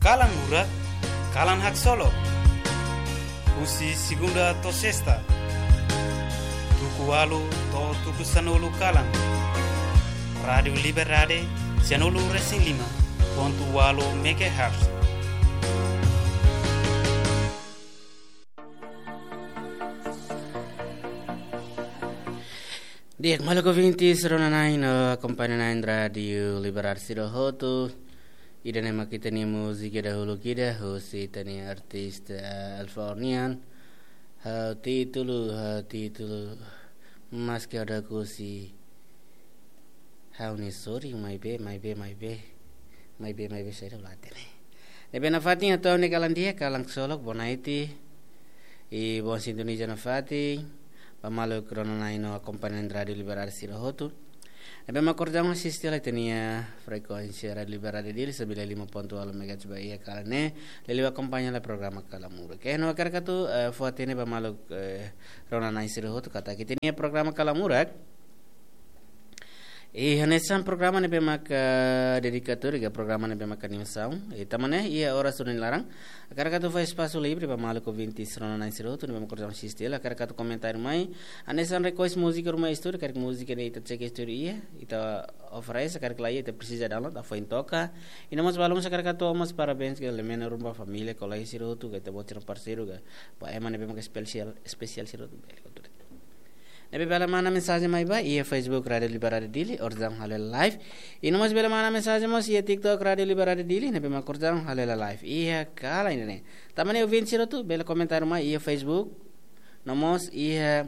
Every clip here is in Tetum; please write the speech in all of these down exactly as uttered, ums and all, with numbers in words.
Kalan Murak, kalan haksolok. Husi segunda to'o sesta, tuku ualu to'o tuku sanulu kalan. Rádiu Liberdade, sanulu resin lima pontu ualu megahertz. Di'ak, maluk ouvintes, rona-na'in no akompaña-na'in Rádiu Liberdade sira hotu. Ida-ne'e mak ita-nia múzika dahuluk ida, husi ita-nia artista, eh, Alfa nian. Ha'u títulu, ha'u títulu, maski ada kusi. Ha'u-nia sorry, maibé, maibé, maibé. Maibé, maibé, saida mak la hatene. Ne'ebé nafatin atu ha'u-nia kalan di'ak, kalan haksolok, bonaiti. I boa sintoniza nafatin ba maluk rona-na'in no akompaña-na'in Rádiu Liberdade sira hotu. Ne'ebé mak orsida asiste hela ita-nia frekuénsia Rádiu Liberdade Dili, sembilan lima pontu ualu megahertz ba iha kalan ne'e, liuliu akompaña hela programa Kalan Murak. Oke, no hakarak atu, eh, fó-hatene ba maluk, eh, rona-na'in sira hotu katak ita-nia programa Kalan Murak i hanesan programa ne'ebé maka dedikadu ka programa ne'ebé maka animasaun. I tanba ne'e, iha oras ohin laran, hakarak atu fó espasu livre ba maluk ouvintes rona-na'in sira hotu ne'ebé maka orsida asiste hela, hakarak atu komentáriu mai. Hanesan request múzika ruma iha estúdiu, karik múzika ne'e ita cek estúdiu iha, ita oferese, karik laiha ita presiza download, atu foin toka. I no mós balu mós hakarak atu hato'o mós parabéns ka lemena ruma ba família, kolega sira hotu, ka ita-boot sira parseiru, ka ba ema ne'ebé maka espesiál, espesiál sira hotu, bele hotu. Ne'ebé bele manda mensajen mai ba iha Facebook Rádiu Liberdade Dili, orsida halo hela live. I no mós bele manda mensajen mós iha TikTok Rádiu Liberdade Dili, ne'ebé maka orsida halo hela live iha kalan ida-ne'e. Tanba ne'e ouvinte sira hotu bele komentáriu mai iha Facebook, no mós iha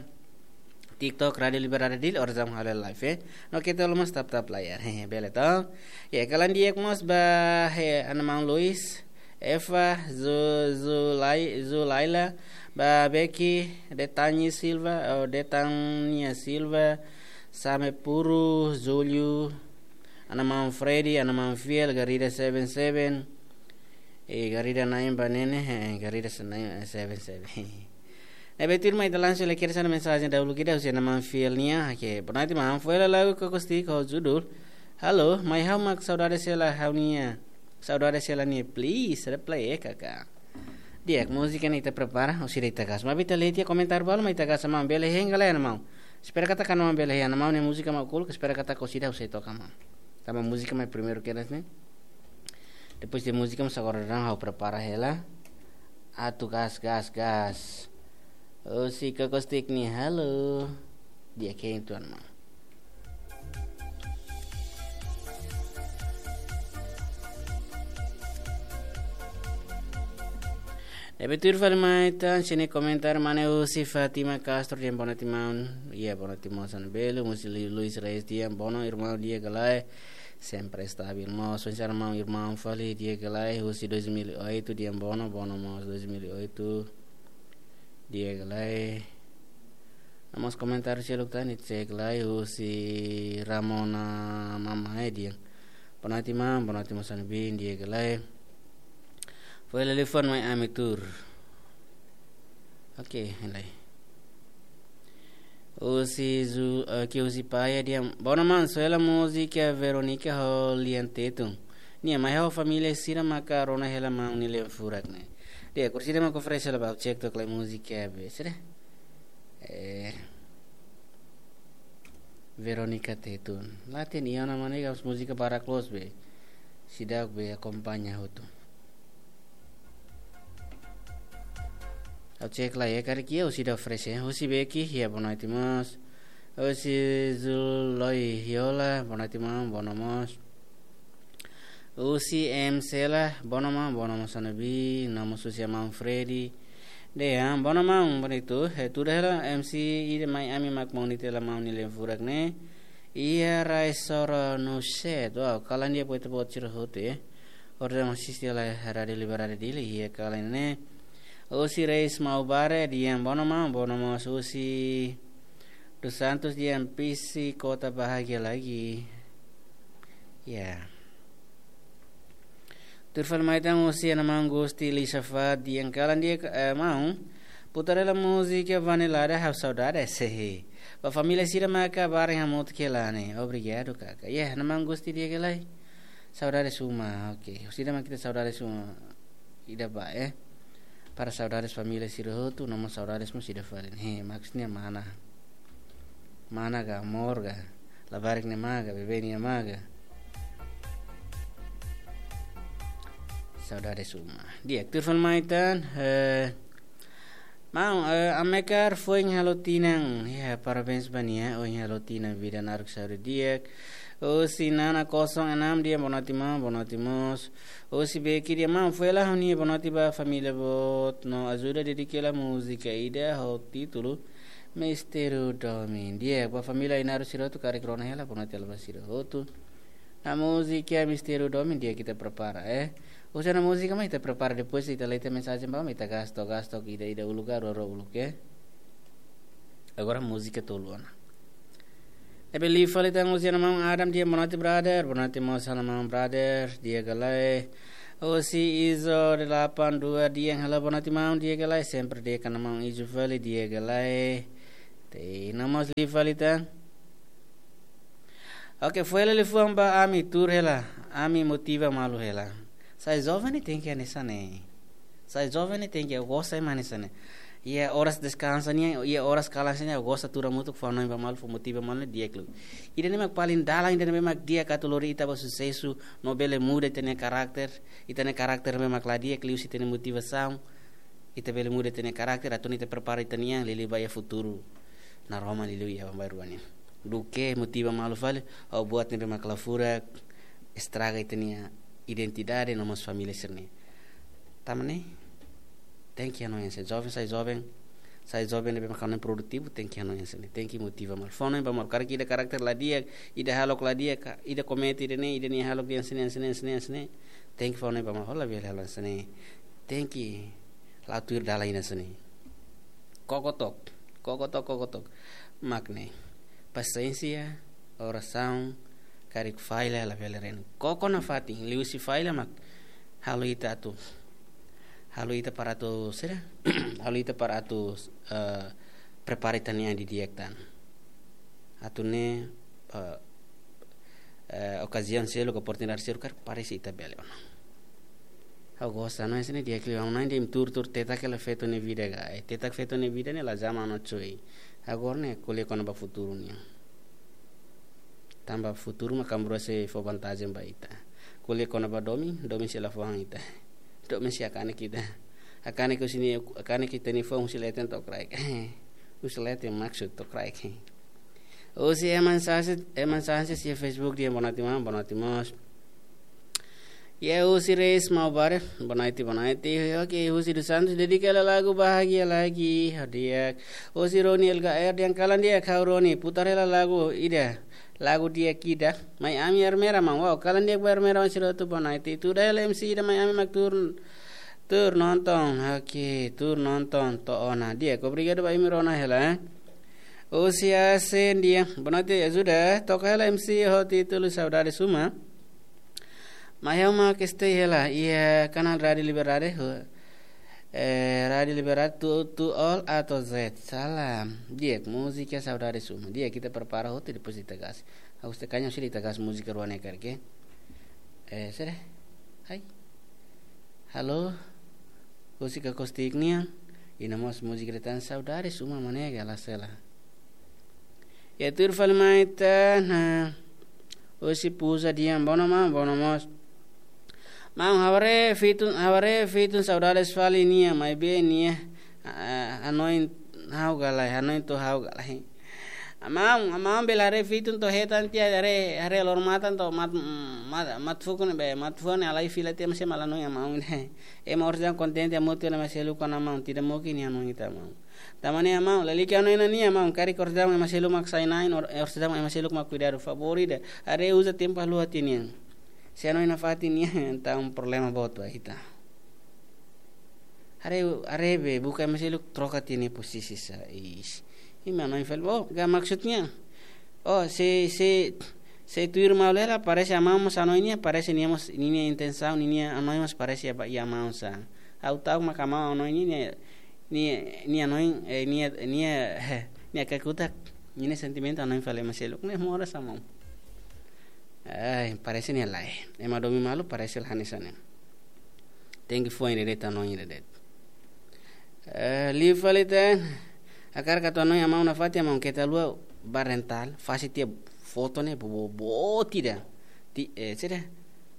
TikTok Rádiu Liberdade Dili, orsida halo hela live, eh. No keta haluha mós tap-tap layar, eh, bele to. Ya, kalan di'ak mós ba, eh, Ana Maun Luis, Eva, Zu-, Zulai-, Zulaila, ba Becky, Detani Silva, oh, Detania Silva, Same Puru, Julio, Ana Maun Freddy, Ana Maun Fiel, Garida seven seven, eh, Garida na'in ba ne'e ne'e, eh, Garida se-, na'in, eh, seven seven. Ne'ebé tuirmai ita langsung lai kedas ona mensajen dahuluk ida husi Ana Maun Fiel nian, oke, bonaiti maun, fó hela lagu Kokostik ho judul Halo, mai ha'u mak saudade hela ha'u-nia. Saudade hela nia, please, reply, eh, kaka. Di'ak, múzika ne'e ita prepara, orsida ita gas. Maibé ita lee tiha komentáriu balu mak ita gas, maun bele hein ka lae, Ana Maun. Espera katak Ana Maun bele hein, Ana Maun nia múzika mak ukun, espera katak orsida ha'u sei toka, maun. Tanba múzika mak primeiru kedas ne'e. Depois de múzika mós agora daudaun ha'u prepara hela. Atu gas, gas, gas. Husi Kokostik nia, halo. Di'ak hein tuan, maun. Ne'ebé tuir fali mai tan, sini komentáriu mane husi Fátima Castro, di'ak bonaiti maun. Iya, bonaiti maun Sano Belo, husi Lu-, Luis Reis, di'ak bono, irmaun, di'ak ka lae. Sempre estabil mós, sensar maun, irmaun fali, di'ak ka lae, husi dois mil e oito, di'ak bono, bono mós dois mil e oito. Di'ak ka lae. No mós komentáriu seluk tan, ita sei lai husi Ramona Mamae, di'ak. Bonaiti maun, bonaiti maun Sano Bin, di'ak ka lae. Fó hela liafuan mai ami tuur. Oke, hein lai. Husi Zu-, eh, ke husi Paya, di'ak. Bono maun, soe hela múzika Veronica ho Lian Tetun. Nia, mai ha'u família sira maka rona hela maun nia lian furak ne'e. Di'ak, orsida mak oferese hela ba ha'u, cek took lai múzika be, sira. Eh, Veronica Tetun. La hatene ona, maun, ne'e gas múzika barak loos be. Seidauk be akompaña hotu. Ha'u cek lai, eh, karik iha, orsida oferese, eh. Husi Beki, ya, bonaiti mós. Husi Zuloi Hiola, bonaiti maun, bono mós. Husi M Sela, bono maun, bono mós Sano Bin, no mós husi maun Freddy. Di'ak, bono maun, bonito. Eh, tuur hela M C ida mai ami mak monitor hela maun nia lian furak ne'e. Iha rai Soro no set. Wow, kalan di'ak ba ita-boot sira hotu, eh. Orsida mak asiste hela Rádiu Liberdade Dili, iha kalan ne'e. Husi Reis Maubare, di'ak bono maun, bono mós husi Dos Santos, di'ak, Pisi Kota Bahagia Lagi. Ya. Tuir fali mai tan husi Ana Maun Gusti Lisafat, di'ak, kalan di'ak, eh, maun. Putar hela múzika Vanilada, ha'u saudade, sehi. Ba família sira maka barak hamutuk hela ne'e. Obrigadu, kaka. Ya, Ana Maun Gusti, di'ak ka lae. Saudades uma, oke. Husi ida mak ita saudades uma. Ida ba, eh. Para saudades família sira hotu, no mós saudades mós ida fali. He, maksudnya mana? Mana ka, amor ka, labarik ne'e mak ka, bebé ne'e mak ka. Saudades uma. Di'ak, tuir fali mai tan, eh, maun, eh, Amekar foin halo tinan. Ya, parabéns ba nia, ohin halo tinan, vida naruk saúde di'ak. Husi Nana kosong enam dehan boa noite maun, boa noite mós. Husi Beki dehan maun, foin hela ha'u-nia boa noite ba família boot, no ajuda dedika hela múzika ida ho títulu Mistériu Domin. Di'ak, ba família Ainaro sira hotu karik rona hela, boa noite hela ba sira hotu. Ona múzika Mistériu Domin di'ak, ita prepara, eh. Husi ona múzika mak ita prepara, depois ita lee tiha mensajen ba maun, ita gasto, gasto, ida, ida uluk ka, rua, rua uluk, eh. Agora múzika tolu ona. Ne'ebé liu fali tan husi ona maun Adam dehan boa noite brother, boa noite mós hela maun brother, di'ak ka lae. Husi Izo delapan dua dehan halo boa noite maun, di'ak ka lae, sempre di'ak ona maun Izo fali, di'ak ka lae. Te, no mós liu fali tan. Oke, foin hela liafuan ba ami, tuur hela, ami motiva malu hela. Sai joven ne'e tenke hanesan ne'e. Sai joven ne'e tenke, ha'u gosta ema hanesan ne'e. Iha oras deskansa nian, iha oras kalan sira nian, ha'u gosta tuur hamutuk, fó hanoin ba malu, fó motiva malu, di'ak liu. Ida-ne'e mak paling dalan, ida-ne'e mak di'ak atu lori ita ba susesu, no bele muda ita-nia karakter, ita-nia karakter ne'ebé mak la di'ak liuhusi ita-nia motivasaun. Ita bele muda ita-nia karakter, atu nune'e ita prepara ita-nia an liuliu ba iha futuru. Naroman liuliu iha baibain rua nian. Duké motiva malu fali, ha'u buat ne'ebé mak la furak, estraga ita-nia identidade no mós família sira-nian. Tanba ne'e, tenke hanoin hanesan ne'e, joven sai joven, sai joven ne'ebé mak hanoin produtivu, tenke hanoin hanesan ne'e, tenke motiva malu. Fó hanoin ba malu, karik ida karakter la di'ak, ida hahalok la di'ak, ka, ida komete ida-ne'e, ida-ne'e hahalok dehan hanesan ne'e, hanesan ne'e, hanesan ne'e, hanesan ne'e. Tenke fó hanoin ba malu, ha'u labele halo hanesan ne'e. Tenke la'o tuir dalan ida hanesan ne'e. Koko took, koko took, koko took. Mak ne'e. Pasiénsia, orasaun, karik falla labele renu. Koko nafatin, liuhusi falla mak halo ita atu. Halo ita para atu, sira? Halo ita para atu, eh, prepara ita-nia an didi'ak tan. Atu nune'e, eh, eh, okaziaun seluk, oportunidade seluk karik aparese, ita bele ona. Ha'u gosta, no, hanesan ne'e di'ak liu, ha'u hanoin dehan imi tuur-tuur tetak hela feto nia vida ka. Eh, tetak feto nia vida ne'e la zama no choi. Agora ne'e ko'alia kona-ba futuru nian. Tanba futuru mak ami-rua sei fó vantajen ba ita. Ko'alia kona-ba domin, domin sei la fó han ita. Domin sei hakanek ita. Hakanek husi nia, hakanek ita-nia fuan husi leten to'o kraik. Husi leten maksud to'o kraik. Husi Eman Sanches, Eman Sanches iha Facebook dehan boa noite maun, boa noite mós. Iha husi Reis Maubare, boa noite, boa noite. Oke, husi dos Santos, dedika hela lagu Bahagia Lagi, ho di'ak. Husi Roni L K R dehan kalan di'ak ha'u Roni, putar hela lagu ida, lagu di'ak ida. Mai ami Ermera maun, wow, kalan di'ak ba Ermera maun sira hotu, boa noite. Tuda hela M C ida, mai ami mak tuur, tuur nonton, oke, tuur nonton, to'o ona. Di'ak, obrigadu ba imi rona hela, eh. Husi Asen dehan, boa noite, ajuda, toka hela M C ho títulu Saudades Uma. Mai ha'u mak stay hela, iha kanál Rádio Liberdade, ho, eh, Rádio Liberdade, to, to all A to Z. Salam. Di'ak, múzika Saudades Uma. Di'ak, ita prepara hotu, depois ita gas. Ha'u sei kaña sira ita gas múzika rua ne'e karik. Eh, sira. Hai. Halo. Husi Kakostik nian. I no mós múzika ida tan Saudades Uma, mane gala sela. Iha tuir fali mai tan, husi Puza dehan, boa noite maun, boa noite mós. Maun, ha'u haree fitun, ha'u haree fitun Saudades fali nia, maibé nia, ah, hanoin ha'u ka lae, hanoin to'o ha'u ka lae. Maun, maun bele haree fitun to'o hetan tiha, haree, haree loro-matan to'o mat, mat, mat fuuk ne'ebé, mat fuuk ne'e halai fila tiha, maibé ema la hanoin maun ne'e. Ema orsida kontente hamutuk, ema seluk ona maun, tidak mungkin nia hanoin ita maun. Tanba ne'e maun, lalika hanoin ona nia maun, karik orsida ema seluk mak sai na'in, or-, orsida ema seluk mak kuidadu, favór ida. Haree uza tempu haluha tiha nian. Se hanoin nafatin nia, entaun problema boot ba ita. Haree, haree be, buka ema seluk troka tiha nia posisi sa, ish. Imi hanoin fali, oh, ka maksudnya. Oh, se, se, se tuir maun hela, parese maun mós hanoin nia, parese nia mós, ninia intensaun, ninia hanoin mós parese ba iha maun sa. Ha'u ta'uk mak maun hanoin nia, nia, nia hanoin, eh, nia, nia, nia kakutak, ninia sentimentu hanoin fali ema seluk, ne'e moras sa maun. Ai, parese ne'e lae. Ema domin malu parese la hanesan ne'e. Tenke foin de'it, hanoin de'it. Eh, liu fali tan. Hakarak atu hanoin amau nafatin, amau keta haluha ba rental, fase tiha foto ne'e bo, bo, boot ida. Ti, eh, sira.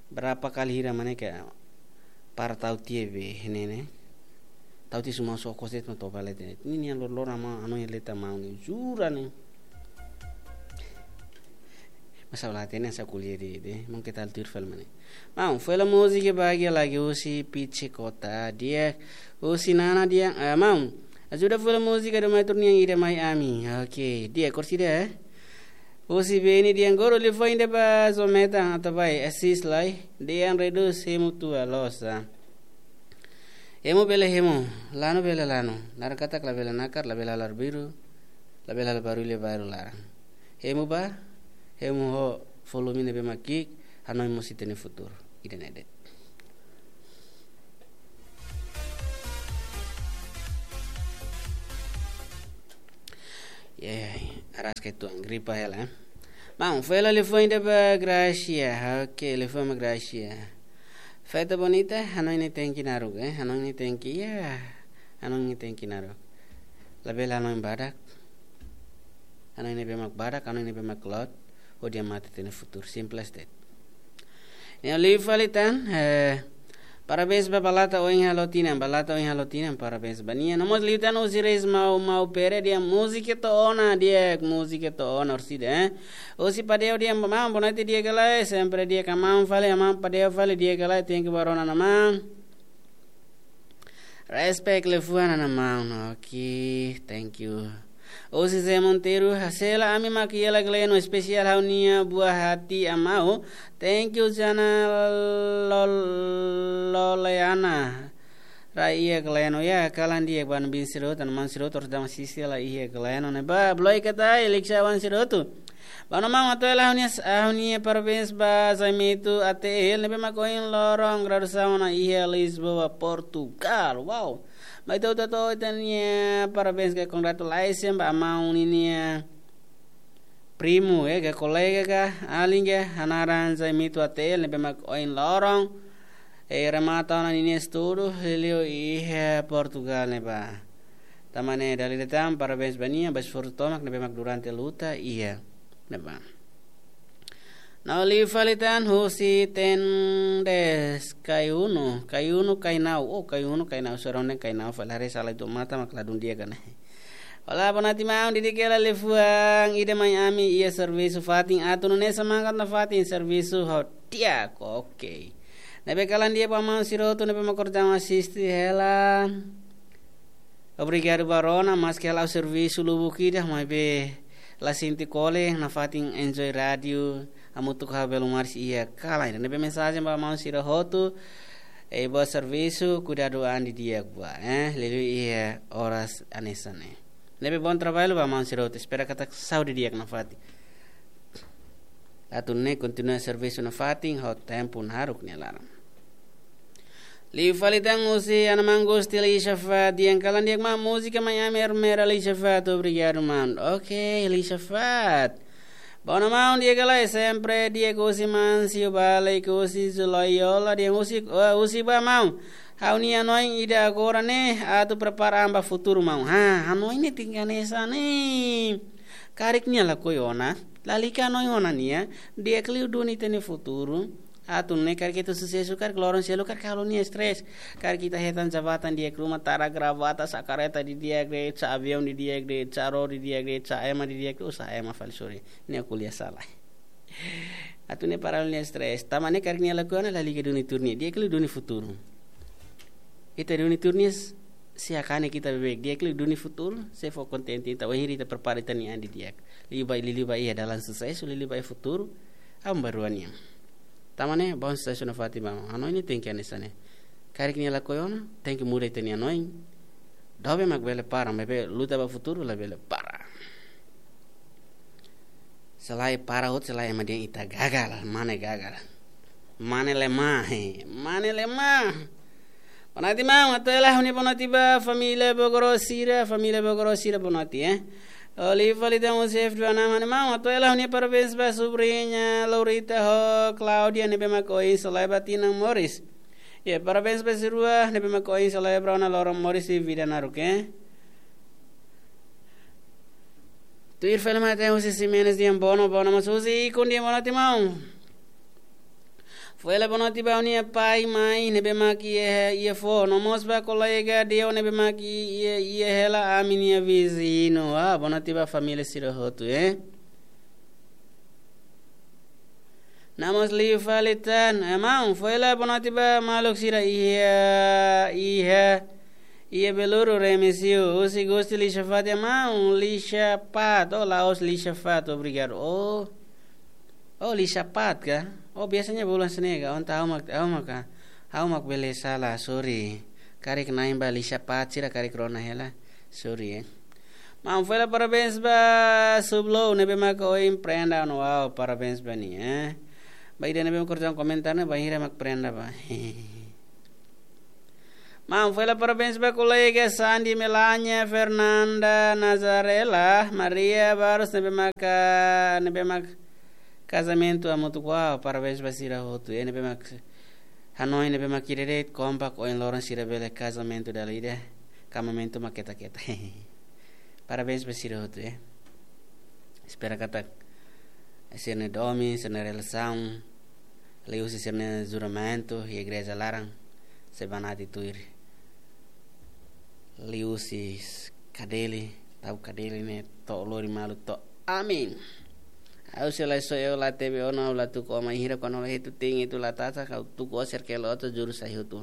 Berapa kali hira mak ne'e ke para tau tiha be ne'e ne'e. Tau tiha suma so kose no toba leten. Ne'e nia lor-, lor amau, hanoin leten amau ne'e. Jura ne'e. Masa la hatene sa ko'alia de'it, de'it. Maun keta haluha tuir fali mak ne'e. Maun, foin hela múzika Bahagia Lagi husi Pichi Kota. Di'ak, husi Nana di'ak, eh, maun. Ajuda foin hela múzika Dom Arthur nian ida Mai Ami. Oke, di'ak, korsida, eh. Husi Beni di'ak, guru liu foin ida ba Zometa, atu bá, asis lai. Di'ak, redús, hemu tua losa. Hemu bele hemu, lanu bele lanu. Naran katak labele nakar, labele halo arbiru, labele halo barullu ba laran. Hemu bá, hemu ho volume ne'ebé mak ki'ik, hanoin mós ita-nia futuru. Ida-ne'e de'it. Ya, ya, ya. Araska itu, gripa hela, eh. Maun, foin hela liu foin ida ba Gracia. Oke, liu foin ba Gracia. Festa bonita, hanoin ne'e tenke naruk, eh. Hanoin ne'e tenke, ya. Hanoin ne'e tenke naruk. Labele hanoin badak. Hanoin ne'ebé mak badak, hanoin ne'ebé mak loot. Hodi hamate ita-nia futuru, simples de'it. Ne'e liu fali tan, eh, parabéns ba Balata Oin Halo Tinan, Balata Oin Halo Tinan, parabéns ba nia. No mós liután husi Reis Mau Mau Pere, di'ak, múzika to'o ona, di'ak, múzika to'o ona, orsida, eh. Husi Padeo di'ak, maun, boa noite di'ak ka lae, sempre di'ak ka maun fali, maun Padeo fali di'ak ka lae, thank you ba rona ona maun. Respect liafuan ona maun. Oke, thank you. Husi Zé Monteiro, Sela, ami mak Yela Gleno, espesiál ha'u-nia buah hati amau. Thank you, Jana Lol-, Loleana. Rai iha Gleno, ya, kalan di'ak ba ami-nia sira hotu, ami-nia sira hotu, terus dama sisi la iha Gleno, ne'ebá, bloika tai, liksa wan sira hotu. Ba no maun, atu hela ha'u-nia, ha'u-nia parabéns ba Zaimito A T L, ne'ebé mak ohin loron graduasaun ona iha Lisboa, Portugal. Wow. Mai ita hotu hato'o ita-nia parabéns ka congratulations ba maun ninia primu, eh, ka kolega ka, alin ka, hanaran Zaimito A T L, ne'ebé mak ohin loron, eh, remata ona ninia estudu, liuliu iha Portugal ne'ebá. Tanba ne'e dala ida tan, parabéns ba nia, ba esforsu tomak ne'ebé mak durante luta iha ne'ebá. No liu fali tan husi Tendes, Kaiunu, Kaiunu, Kainau, oh, Kaiunu, Kainau, sorong den Kainau, fali haree sala itu mata mak ladún di'ak ka ne'e. Olá, boa noite maun, di'ak ka lae, liafuan ida Mai Ami iha servisu fatin, atu nune'e semangat nafatin servisu ho di'ak, oke. Ne'ebé kalan di'ak ba maun sira hotu ne'ebé mak kordama asiste hela. Obrigadu ba rona, maske ha'u servisu lubuk ida, maibé la sente kole, nafatin enjoy rádiu, hamutuk ho belun maris iha kalan. Ne'ebé mensajen ba maun sira hotu, eh, boa servisu, kuidadu an didi'ak buat, eh, liuliu iha oras hanesan ne'e. Ne'ebé bom trabalho ba maun sira hotu, espera katak saúde di'ak nafatin. Atu nune'e kontinua servisu nafatin, ho tempu naruk nia laran. Liu fali tan husi Ana Mangus, Tili Shafa, di'ak, kalan di'ak maun, múzika Mai Ami Ermera, Li Shafa, obrigadu maun. Oke, Li Shafa. Ba no maun, di'ak ka lae, sempre di'ak, husi Mansiu Bale, husi Zulayola, di'ak, husi, eh, husi ba maun. Ha'u-nia hanoin ida agora ne'e, atu prepara an ba futuru maun. Ha, hanoin ne'e tenke hanesan ne'e. Karik nia lakohi ona, lalika hanoin ona nia, di'ak liu duni ita-nia futuru. Atu nune'e karik ita susesu, karik loron seluk, karik halo nia stress. Karik ita hetan jabatan di'ak ruma, tara gravata, sa'e kareta didi'ak de'it, sa'e aviaun didi'ak de'it, sa'e ró didi'ak de'it, sa'e ema didi'ak de'it, oh, sa'e ema fali, sorry. Nia ko'alia sala. Atu nune'e para nia stress. Tanba ne'e karik nia lakohi ona, lalika duni tuur nia, di'ak liu duni futuru. Ita duni tuur nia, s-, se hakane ita beibeik, di'ak liu duni futuru, se fó kontente ita, wainhira ita prepara ita-nia an didi'ak. Liu ba, liu ba iha dalan susesu, liu ba iha futuru, aban-bainrua nian. Tanba ne'e, bom susesu nafatin ba maun. Hanoin ne'e tenke hanesan ne'e. Karik nia lakohi ona, tenke muda ita-nia hanoin. Doben mak bele para, maibé luta ba futuru labele para. Se lae para hotu, se lae ema dehan ita gagal, mane gagal. Mane lemah, he, mane lemah. Boa noite maun, atu hela ha'u-nia boa noite ba família Bogoro sira, família Bogoro sira boa noite, eh. Oliva lidan husi F dua nama, maun, atu hela ha'u-nia parabéns ba subriña Laurita ho Claudia ne'ebé mak ohin solae ba tinan moris. Iha parabéns ba sira-rua ne'ebé mak ohin solae ba ona loron moris iha vida naruk, eh. Tuir fali mai ita-nia husi Ximenes Diambono, bono mós husi Ikun Diambono tiha, maun. Fó hela bonote ba ha'u-nia pai, mai ne'ebé mak iha, iha foho, no mós ba kolega Deo ne'ebé mak iha, iha hela ami-nia viziñu. Ah, bonote ba família sira hotu, eh. No mós liu fali tan, eh, maun, fó hela bonote ba maluk sira iha, iha, iha Beluru Remexio, husi Gusti Lixafat, eh, maun, Lixafat, oh, la'ós Lixafat, obrigadu. Oh, oh, Lixafat ka? Oh, biasanya bulan senega, onta ha'u mak, ha'u mak, ha'u mak bele sala, sorry. Karik na'in ba Lixafat, sira karik rona hela, sorry, eh. Maun, fó hela parabéns ba Sublo ne'ebé mak ohin prenda ona, wow, parabéns ba nia, eh. Ba ida ne'ebé mak korjaun komentar ne'e, bainhira mak prenda ba. Maun, fó hela parabéns ba kolega Sandi, Melania, Fernanda, Nazarela, Maria Barros ne'ebé mak, ne'ebé mak kazamentu hamutuk, wow, parabéns ba sira hotu, eh, ne'ebé mak hanoin ne'ebé mak ida de'it, kompak, ohin loron sira bele kazamentu dala ida, kazamentu mak keta-keta. Parabéns ba sira hotu, eh. Espera katak sira-nia domin, sira-nia relasaun, liuhusi sira-nia juramentu iha igreja laran, sei banati tuir. Liuhusi kadeli, tau kadeli ne'e to'o lori malu to'o. Amen. Ha'u sei la soe, ha'u la tebe ona, ha'u la tuku ó, bainhira kuandu la hetu ting itu la tata, ha'u tuku ó serkelo oto juru sai hotu.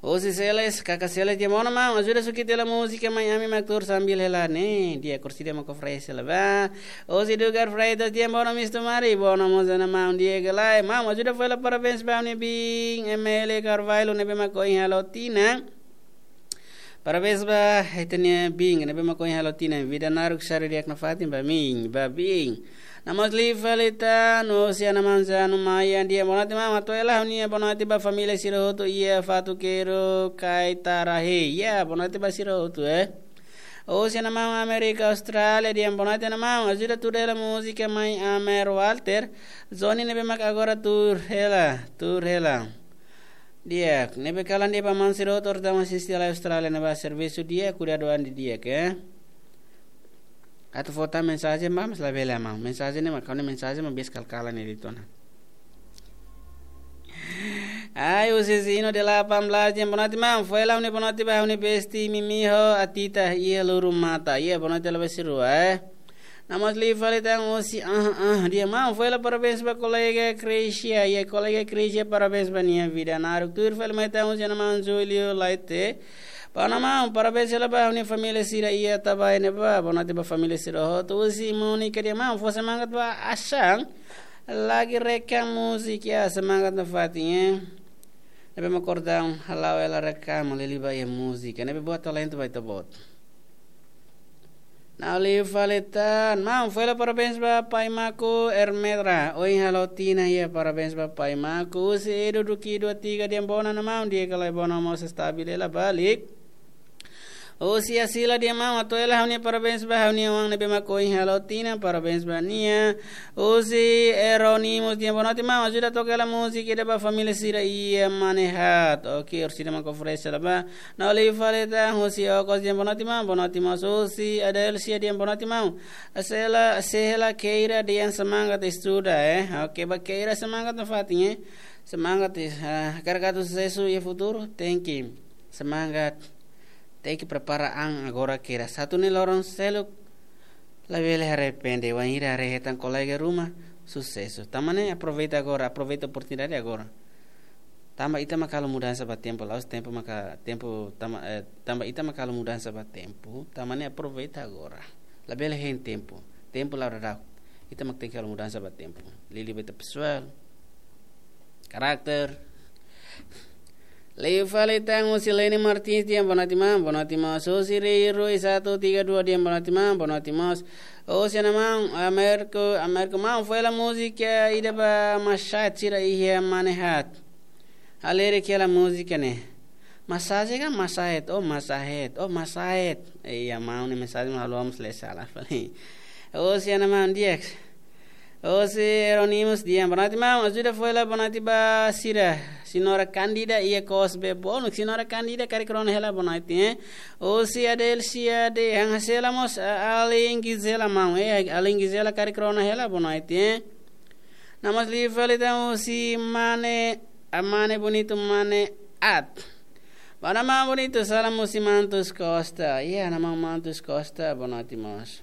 Husi Seles, kaka Seles, di'ak, maun, ajuda sukita hela múzika Mai Ami Mak Tuur sambil hela ne'e. Di'ak, kursi dia mak oferese hela ba. Husi Dugar Freitas, di'ak, bono mistu mari, bono mós ona maun, di'ak ka lae. Maun, ajuda fó hela parabéns ba ha'u-nia biin, Emelia Carvalho, ne'ebé mak ohin halo tinan. Parabéns ba ita-nia biin, ne'ebé mak ohin halo tinan, vida naruk, sari di'ak nafatin ba biin, ba biin. No mós liu fali tan, husi Ana Manzano Maia, di'ak, bonote maun, atu hela ha'u-nia bonote ba família sira hotu iha Fatukero, Kaitarahe. Ya, bonote ba sira hotu, eh. Husi Ana Maun Amérika Austrália, di'ak, bonote Ana Maun, ajuda tuur hela múzika Mai Amer Walter, Johnny ne'ebé mak agora tuur hela, tuur hela. Di'ak, ne'ebé kalan di'ak ba maun sira hotu, ita mak asiste lai Austrália ne'ebá servisu di'ak, kuidadu an didi'ak, eh. Atu fó tan mensajen ba, mas labele maun. Mensajen ne'e mak, kau ne'e mensajen mak bias kal-kalan ne'e de'it ona. Ai, husi Zino de la Pamblas, di'ak, bonote maun, fó hela ha'u-nia bonote ba ha'u-nia besti Mimi ho Atita iha Lurumata. Iha bonote hela ba sira-rua, eh. No mós liu fali tan husi, ah, ah, di'ak maun, fó hela parabéns ba kolega Crecia, iha kolega Crecia, parabéns ba nia vida naruk. Tuir fali mai tan husi Ana Maun Julio Laite. Ba Ana Maun, parabéns hela ba ha'u-nia família sira iha Tabae ne'ebá, bonote ba família sira hotu. Husi Monica, di'ak maun, fó semangat ba Ashan, lagi rekam múzika, ya, semangat nafatin, eh. Ne'ebé mak kordaun, hala'o hela rekam, lili ba iha múzika, ne'ebé boot, talentu ba ita-boot. No liu fali tan, maun, fó hela parabéns ba pai Maku Ermedra, ohin halo tinan, ya, parabéns ba pai Maku. Husi Edu Duki dua tiga, di'ak, bono Ana Maun, di'ak ka lae, bono mós, estabil hela ba lik. Husi Asila, di'ak maun, atu hela ha'u-nia parabéns ba ha'u-nia oan ne'ebé mak ohin halo tinan, parabéns ba nia. Husi Eronimus, di'ak, bonote maun, ajuda toka hela múzika ida ba família sira iha Manehat. Oke, orsida mak oferese hela ba. No liu fali tan husi Okos, di'ak, bonote maun, bonote mós husi Adelsia, di'ak, bonote maun. Sei hela, sei hela Keira, di'ak, semangat estuda, eh. Oke, ba Keira semangat nafatin, eh. Semangat, eh, ah, hakarak atu susesu iha futuru, tenke semangat. Tenke prepara an agora, Keira. Atu nune'e loron seluk labele arrepende, wainhira haree hetan kolega ruma, susesu. Tanba ne'e aproveita agora, aproveita oportunidade agora. Tanba ita mak halo mudansa ba tempu, la'ós tempu maka, tempu tanba, eh, tanba ita mak halo mudansa ba tempu, tanba ne'e aproveita agora. Labele hein tempu, tempu la'o daudauk. Ita mak tenke halo mudansa ba tempu. Liuliu ba ita pesoál, karakter. Liu fali tan husi Leni Martins, di'ak, bonote maun, bonote mós. Husi Rei Rui satu tiga dua, di'ak, bonote maun, bonote mós. Husi Ana Maun Amérika, Amérika maun, fó hela múzika ida ba mashat sira iha Manehat. Halerik hela múzika ne'e. Masaje ka masahet? Oh, masahet. Oh, masahet. Iya, maun nia mensajen maun, ha'u mós lee sala fali. Husi iha ne'ebá, di'ak. Husi Eronimus Dian. Boa noite, maun. Ajuda fó hela boa noite ba sira. Senhora Candida iha Cosbe Bonuk. Senhora Candida karik rona hela boa noite, eh. Husi Adelcia de Hang Hasela mós, a-, alin Gisela, maun. Eh, alin Gisela karik rona hela boa noite, eh. Namas li fali tan husi mane, a mane bonitu, mane At. Ba maun bonitu, salam husi Mantus Costa. Iya, maun Mantus Costa, boa noite mós.